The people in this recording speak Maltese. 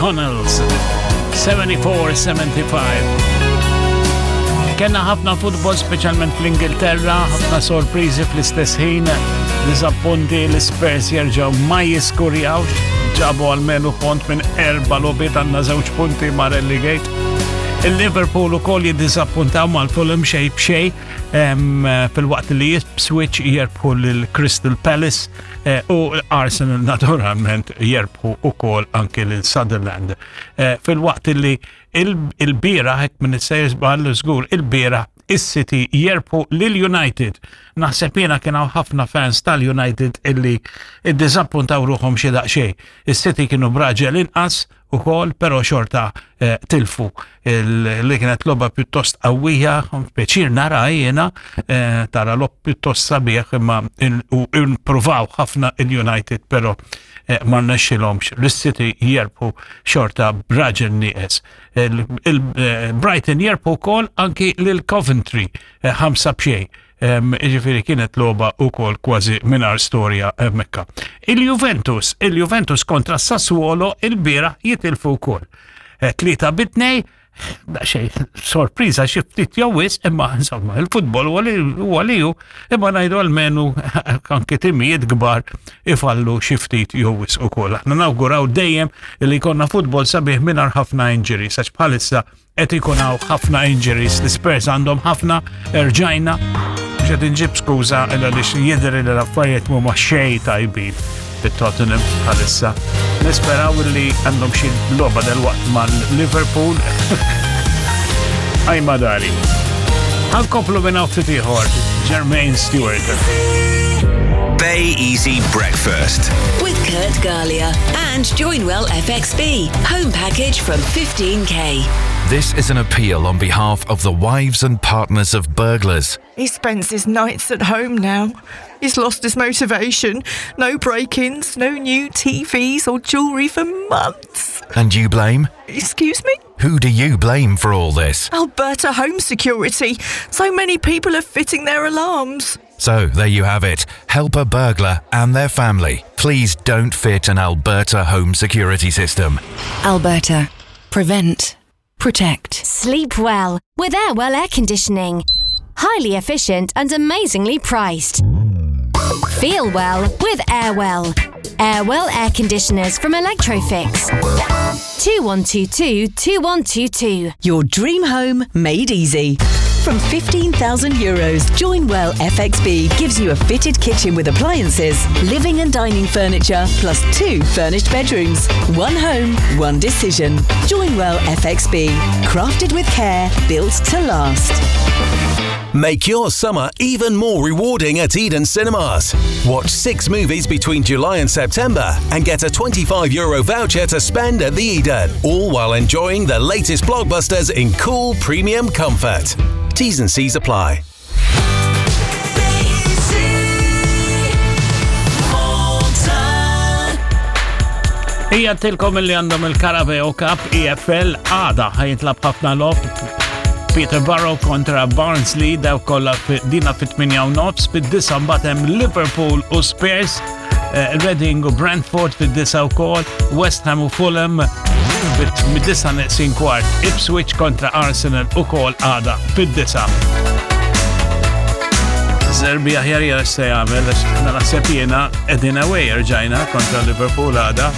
McConnells 74-75. Kenna ħafna futbol speċjalment fl-Ingilterra, ħafna sorpriżi fl-istess ħin, diżappunti l-Spurs jerġgħu ma jiskurjawx, ġabu għalmenu punt minn erba' logħbiet għandna żewġ punti ma' relegate. Il-Liverpool ukoll jiddiżappuntaw mal-Fulham xejn b'xejn fil-waqt li Ipswich jerbħu lil Crystal Palace eh, u Arsenal naturalment jerbħu ukoll anke lil Sunderland. Eh, fil-waqt li il-bira hekk minn sejjer żball żgur il-bira is-City jerbħu lil United. Naħseb jiena kien hawn ħafna fans tal-United illi iddiżappuntaw ruħhom xi daqsxejn. Is-City kienu b'raġel inqas ukoll, però xorta eh, tilfu li kienet logħba pjuttost qawwija, pjaċir nara jiena eh, tara lob pjuttost sabiħ imma impruvaw ħafna il-United però eh, ma rnexxilhomx l-City jerbħu xorta b'raġel nieqes. Il-Brighton jerbħu wkoll anki lil Coventry ħamsa b'xejn. Jiġifieri kienet logħba wkoll kważi mingħajr storja hemmhekk. Il-Juventus, il-Juventus kontra Sassuolo il-bieraħ jitilfu wkoll. Eh, tlieta bitnej, xej sorpriża xi ftit jew wisq, imma insomma il-futbol huwa li hu, imma ngħidu almenu anke timijiet kbar ifallu xi ftit jew wisq ukoll. Aħna nawguraw dejjem li jkollna futbol sabiħ mingħajr ħafna injuries għax bħalissa Qed ikun hawn ħafna injuries, l-Spurs għandhom ħafna, erġajna, mhux qed inġib skuża għaliex jidher li l-affarijiet mhuma xejn tajbin fit-Tottenham bħalissa. Nisperaw li għandhom xi logħba delwaqt mal-Liverpool. Għaj madari. Ħankomplu minn hawn ftit ieħor, Jermaine Stewart. Bay Easy Breakfast. With Kurt Galia and Joinwell FXB. Home package from 15K. This is an appeal on behalf of the wives and partners of burglars. He spends his nights at home now. He's lost his motivation. No break ins, no new TVs or jewellery for months. And you blame? Excuse me? Who do you blame for all this? Alberta Home Security. So many people are fitting their alarms. So there you have it. Help a burglar and their family. Please don't fit an Alberta home security system. Alberta. Prevent. Protect. Sleep well with Airwell air conditioning. Highly efficient and amazingly priced. Feel well with Airwell. Airwell air conditioners from Electrofix. 2122 2122. Your dream home made easy. From 15,000 euros, Joinwell FXB gives you a fitted kitchen with appliances, living and dining furniture, plus two furnished bedrooms. One home, one decision. Joinwell FXB. Crafted with care, built to last. Make your summer even more rewarding at Eden Cinemas. Watch six movies between July and September and get a 25 euro voucher to spend at the Eden, all while enjoying the latest blockbusters in cool premium comfort. T's and C's apply. Ija tilkom li għandhom il-Carabao Cup EFL għada ħajintlab ħafna lob Peterborough kontra Barnsley daw kollha dina fit-8 u nofs, fid-disa mbagħad hemm Liverpool u Spurs, eh, Reading u Brentford fid-disa wkoll, West Ham u Fulham mid-disa neqsin kwart, Ipswich kontra Arsenal ukoll għada fid-disa. Zerbi aħjar jara se jagħmel għax naħseb jiena qegħdin away rġajna kontra Liverpool għada.